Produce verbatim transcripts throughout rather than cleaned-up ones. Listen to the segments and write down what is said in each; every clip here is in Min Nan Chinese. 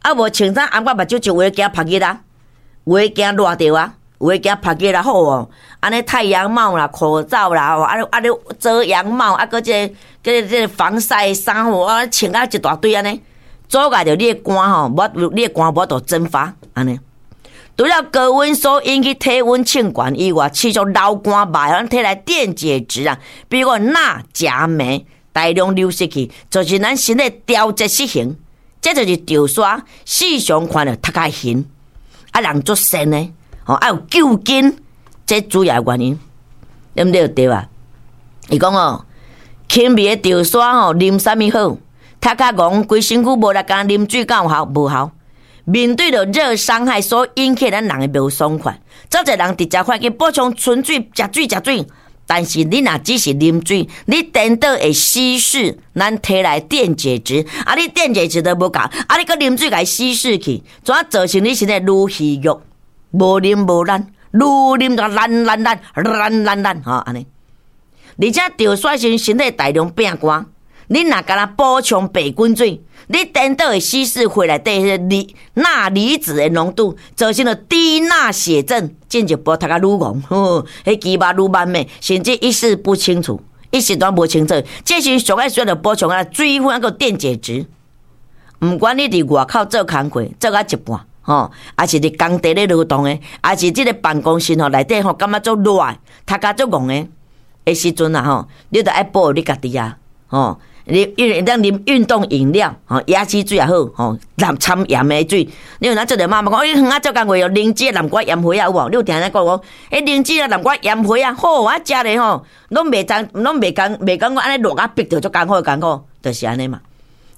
啊無穿衫掩甲目睭，就有的驚曝熱啊，有的驚熱著啊，有的驚曝熱啊，好哦。按呢太陽帽啦、口罩啦，吼，啊啊咧遮陽帽，啊閣這個這個這個防曬衫吼，啊穿啊一大堆按呢，阻礙著你的汗吼，無你的汗無法度蒸發按呢。除了高溫所引起體溫升懸以外，持續流汗嘛會咱體內電解質啊，比如講鈉、鉀、鎂大量流失去，造成咱身體調節失衡。這就是潮沙時常看著頭殼痕，啊人足跣的，吼啊有舊筋，這主要原因，對毋對？對啊。伊講哦，輕微的潮沙吼，啉啥物好？頭殼戇規身軀無力，干啉水敢有效？無效。面對著熱傷害所引起咱人的無爽快，足濟人直接發去補充純水、食水、食水，但是你若只是啉水，你顛倒會稀釋咱體內電解質，啊，你電解質都無夠，啊，你閣啉水共伊稀釋去，怎造成你身體愈虛弱，無啉無力，愈啉就爛爛爛爛爛爛，吼按呢。而且潮沙時身體大量變乾，你若干焦補充白滾水，你顛倒會稀釋血內底彼個離鈉離子的濃度，造成了低鈉血症，進一步頭殼愈戇，呵，彼肌肉愈慢的，甚至意識不清楚，意識都無清楚。這時上愛需要補充啊水分，還閣電解質。毋管你佇外口做工課做到一半，吼，抑是佇工地咧勞動的，抑是這個辦公室吼內底吼感覺足熱，頭殼足戇的的時陣啊吼，你著愛保護你家己啊，吼。你因為當啉運動飲料，吼，椰子水也好，吼，摻摻鹽的水。你有哪做者媽媽講，欸，遠仔做工課哦，靈芝南瓜鹽花仔有無？你有聽人講無？欸，靈芝啊，南瓜鹽花仔好，我食咧吼，攏袂知，攏袂感，袂感覺按呢熱啊，逼著足艱苦艱苦，就是按呢嘛。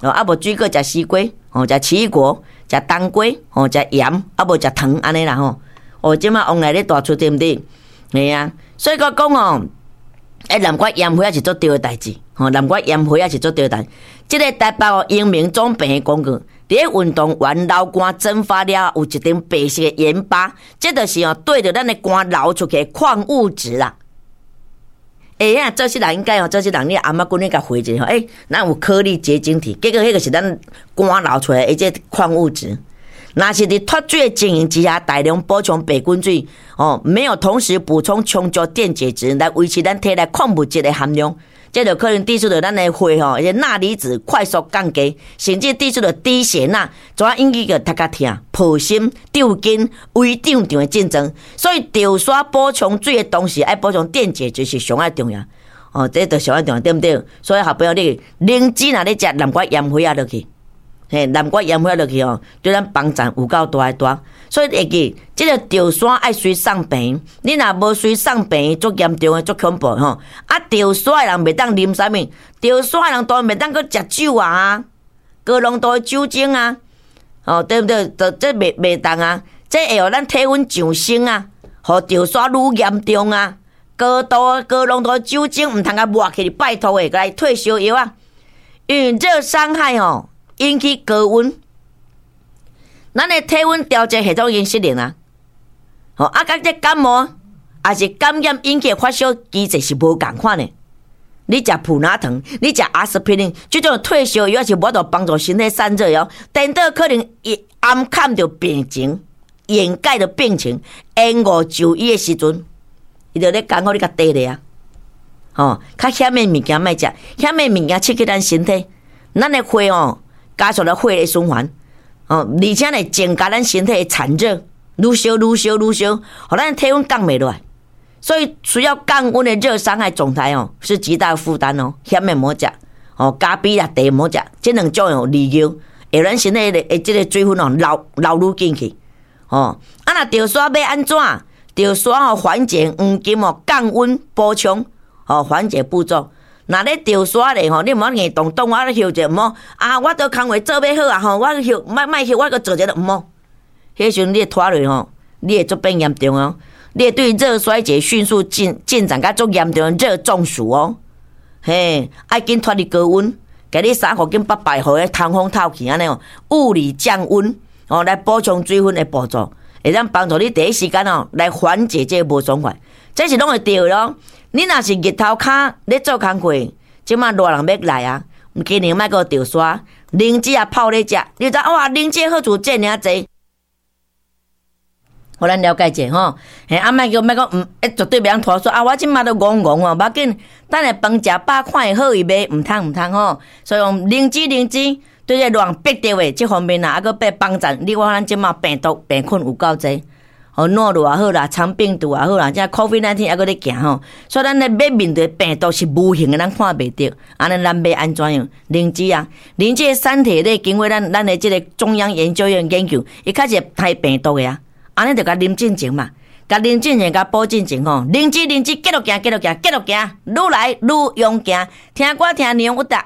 哦，啊無水果食西瓜，吼，食奇異果，食冬瓜，吼，食鹽，啊無食糖按呢啦吼。哦，這馬往來咧大出對毋對？嘿啊，所以閣講哦，欸，南瓜鹽花仔是足對的代誌，吼，南瓜鹽花仔是足對的代。這個台北哦，陽明總病的廣告，佇咧運動員流汗蒸發了，有一層白色的鹽巴，這就是哦對著咱的汗流出去的礦物質啦。欸啊，這些人應該哦，這些人你阿媽阮咧共回一下吼，欸，咱有顆粒結晶體，結果彼個是咱汗流出來的這礦物質。若是佇脫水的情形之下，大量補充白滾水，哦，沒有同時補充充足電解質來維持咱體內礦物質的含量，這就可能導致著咱的血吼，彼鈉離子快速降低，甚至導致著低血鈉，怎引起個頭殼疼、破心、抽筋、胃脹脹的症狀。所以潮沙補充水的同時，愛補充電解質是上愛重要。哦，這就上愛重要，對毋對？所以好朋友你靈芝若咧食南瓜鹽花仔落去。嘿，南瓜鹽花落去吼，對咱幫助有夠大的大。所以會記，這個潮沙愛隨送病，你若無隨送病，足嚴重的，足恐怖吼。啊，潮沙的人袂當啉啥物？潮沙的人當然袂當閣食酒啊，高濃度的酒精啊，哦，對毋對？就這袂袂當啊，這會予咱體溫上升啊，予潮沙愈嚴重啊。高度高濃度的酒精毋通共抹去，拜託的，來退燒藥啊，因為熱傷害吼。引起高溫，咱的體溫調節系統已經失靈啊！吼啊，佮這感冒抑是感染引起的發燒機制是無仝款的。你食普拿疼，你食阿司匹林，這種退燒藥是無法度幫助身體散熱哦。顛倒可能會掩蓋著病情，掩蓋著病情，延誤就醫的時陣，伊就咧艱苦你共綴咧啊！吼，較險的物件莫食，險的物件刺激咱身體，咱的血哦。加速了血液循環，哦，而且呢，增加咱身體的產熱，愈燒愈燒愈燒，予咱體溫降袂落來，所以需要降溫的熱傷害狀態哦，是極大負擔哦。險的莫食，哦，咖啡啦茶莫食，這兩種有利尿，會咱身體的這個水分哦流流愈進去，哦，啊若潮沙欲按怎？潮沙哦緩解黃金哦降溫補充，哦緩解步驟。若咧潮沙咧吼，你毋好硬動動，我咧休者毋好啊！我都工課做欲好啊吼，我休莫莫休，我閣做者毋好。彼時陣你會拖落吼，你會足變嚴重哦。你會對熱衰竭迅速進進展甲足嚴重熱中暑哦。嘿，愛緊脫離高溫，共你衫褲緊縛縛，予彼通風透氣按呢哦，物理降溫哦，來補充水分的步驟，會當幫助你第一時間哦來緩解這個無爽快。這是攏會對的咯。你若是日頭跤咧做工課，這馬熱人欲來啊！今年莫閣潮沙，靈芝啊泡咧食，你知哇？靈芝好處遮爾濟。予咱了解者吼，嘿，啊，莫叫莫講，毋，絕對袂通拖說啊！我這馬都戇戇哦，無要緊，等下飯食飽看會好伊袂？毋通毋通吼。所以講靈芝靈芝對這亂逼著的這方面啊，啊閣變幫贊。你看咱這馬病毒病菌有夠濟，吼，諾如也好啦，腸病毒也好啦，這 COVID 十九猶閣咧行吼。所以咱咧欲面對病毒是無形的，咱看袂著。按呢咱欲按怎樣？靈芝啊，靈芝的三萜咧，經過咱咱的這個中央研究院研究，伊確實會殺病毒的啊。按呢就共啉進前嘛，共啉進前，共補進前吼，靈芝靈芝，繼續行，繼續行，繼續行，愈來愈勇行。聽歌聽娘有達。